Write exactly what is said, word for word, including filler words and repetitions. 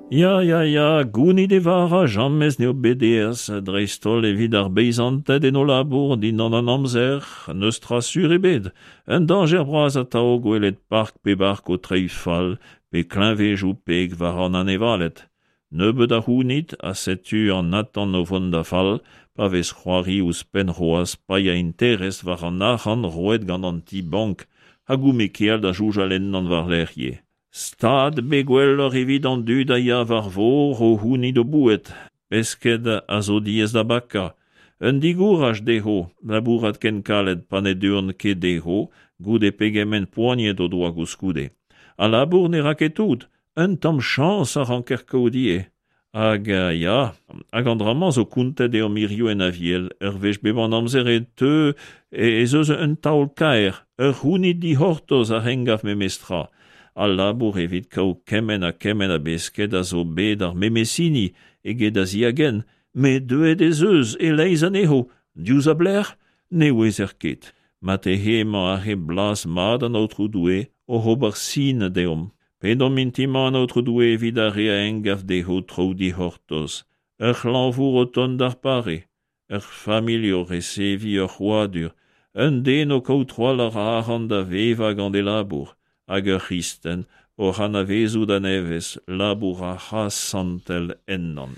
Ya, ya, ya, gounit e vara jamez n'eo bet aes, dreist-holl evit ar beizanted en o labour dindan an amzer, n'eus tra sur ebet. Un dañjer bras atav gwelet park pe bark o treiñ fall pe kleñvedoù peg war an anevaled. Nebeut a c'hounid ha setu an atant o vont da fall pa vez c'hoari ouzhpenn c'hoazh paeañ interest war an arc'hant roet gant an ti-bank hag goût-me-keal da soñjal ennañ war-lerc'h ivez. Stad bet gwelloc'h evit an dud a ya war vor o c'hounit o boued. Pesked a zo diaes da bakañ. Un digouraj dezho labourat ken kalet pa ne deuont ket dezho goude pegement poaniet o doa koulskoude. Al labour ne ra ket tout, un tamm chañs a ranker kaout ivez. Hag ya, hag an dra-mañ zo kontet deomp hiziv en Aviel, ur wech bep an amzer e teu ez eus un taol-kaer, ur c'hounid dic'hortoz a engav memestra. Al labour evit kaout kement ha kement a besked a zo bet ar memes hini eget a-ziagent, met deuet ez eus e-leizh anezho, diouzh a belec'h ne ouezer ket. Marteze emañ aze blaz mat an Aotrou Doue oc'h ober sin deomp. Pedomp mintin-mañ an Aotrou Doue evit ar re a engav dezho traoù dic'hortoz, ur c'hlañvour o tont d'ar pare, ur familh o reseviñ ur c'hrouadur, un den o kaout trawalc'h a arc'hant da vevañ gant e labour, hag ur c'hristen oc'h anavezout a-nevez labour ar c'hras santel ennañ.